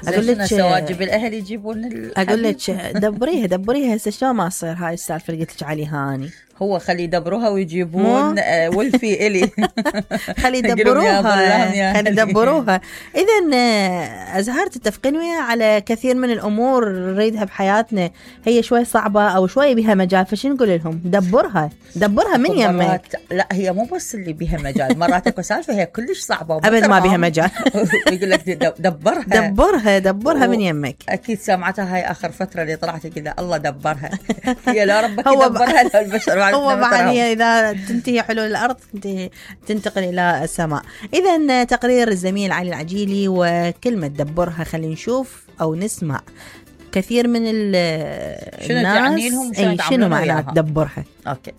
اقول لك سواجب الاهل يجيبون اقول لك دبريها هسه شلون ما تصير هاي السالفه اللي قلت لك عليها هاني. هو خلي يدبروها ويجيبون ولفي الي خلي يدبروها. اذا ازهار تتفقين وياها على كثير من الامور نريدها بحياتنا هي شوي صعبه او شوي بها مجال، فشو نقول لهم؟ دبرها من يمك. لا هي مو بس اللي بها مجال، مرات اكو سالفه هي كلش صعبه ابد ما بها مجال. يقول لك دبرها من يمك. اكيد سمعتها هاي اخر فتره اللي طلعت كذا الله دبرها. هي لا ربك يدبرها لا البشر. هو بعد هي إذا تنتهي حلول الأرض تنتقل إلى السماء. إذا تقرير الزميل علي العجيلي وكلمة دبرها. خلينا نشوف أو نسمع كثير من الناس شنو تعني لهم شنو معنى دبرها. أوكي.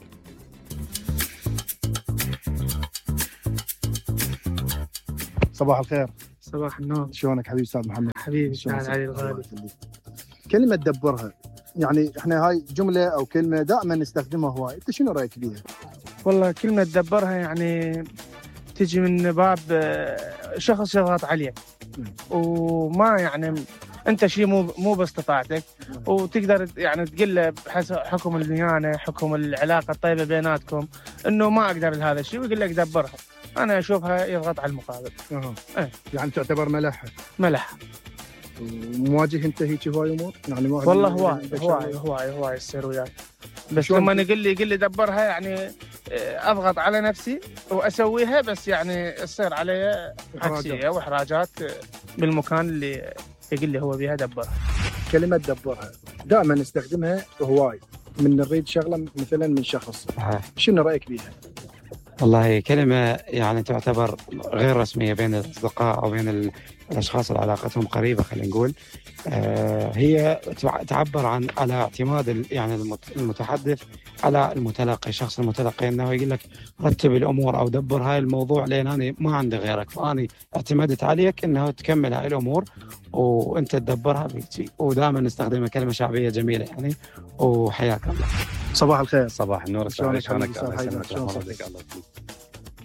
صباح الخير. صباح النور. شلونك حبيبي أستاذ محمد؟ حبيبي أستاذ علي الغالي. كلمة دبرها يعني احنا هاي جملة او كلمة دائما نستخدمها هواي، انت شنو رايك بيها؟ والله كلمة دبرها يعني تجي من باب شخص يضغط عليك وما يعني انت شيء مو باستطاعتك وتقدر يعني تقول له بحسب حكم الديانة حكم العلاقة الطيبة بيناتكم انه ما اقدر لهذا الشيء ويقول لك دبرها. انا اشوفها يضغط على المقابل. يعني تعتبر ملح. مواجه انت هيك هواي امور يعني والله هواي تصير وياك، بس لما يقول لي دبرها يعني اضغط على نفسي واسويها، بس يعني تصير علي عكسيه واحراجات بالمكان اللي يقول لي هو بيها دبرها. كلمه دبرها دائما نستخدمها هواي من نريد شغله مثلا من شخص. شنو رايك بيها؟ والله كلمة يعني تعتبر غير رسمية بين الأصدقاء أو بين الأشخاص اللي علاقتهم قريبة. خلينا نقول هي تعبر على اعتماد يعني المتحدث على المتلقي، الشخص المتلقي، انه يقول لك رتب الامور او دبر هاي الموضوع لان انا ما عندي غيرك، فاني اعتمدت عليك انه تكمل هاي الامور وانت تدبرها بيجي. ودائما نستخدمها كلمه شعبيه جميله يعني. وحياك الله. صباح الخير. صباح النور. شلونك؟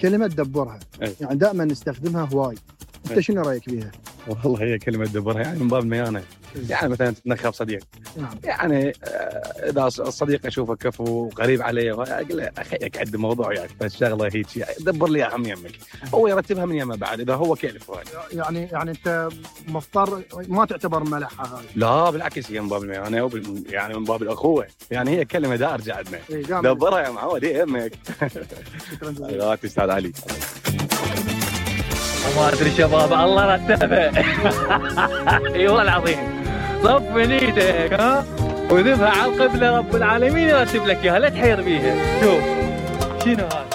كلمه دبرها يعني دائما نستخدمها هواي، انت شنو رايك بيها؟ والله هي كلمه دبرها يعني من باب الميانه، يعني مثلا تتنخب صديق. يعني اذا الصديق اشوفه كفو قريب علي اقول له اخيك عد موضوع يعني فالشغله هيك دبر لي اهم يمك، هو يرتبها من يمه بعد اذا هو كيف يعني انت مضطر ما تعتبر ملحه هاي؟ لا بالعكس هي من باب الميانه يعني من باب الاخوه، يعني هي كلمه دارجه عندنا. دبرها يا معود هي يمك. شكرا استاذ علي. ما ادري شباب الله رتبها. اي والله العظيم صف نيتك ها وذبها على القبله رب العالمين يرتب لك اياها لا تحير بيها. شوف شنو هذا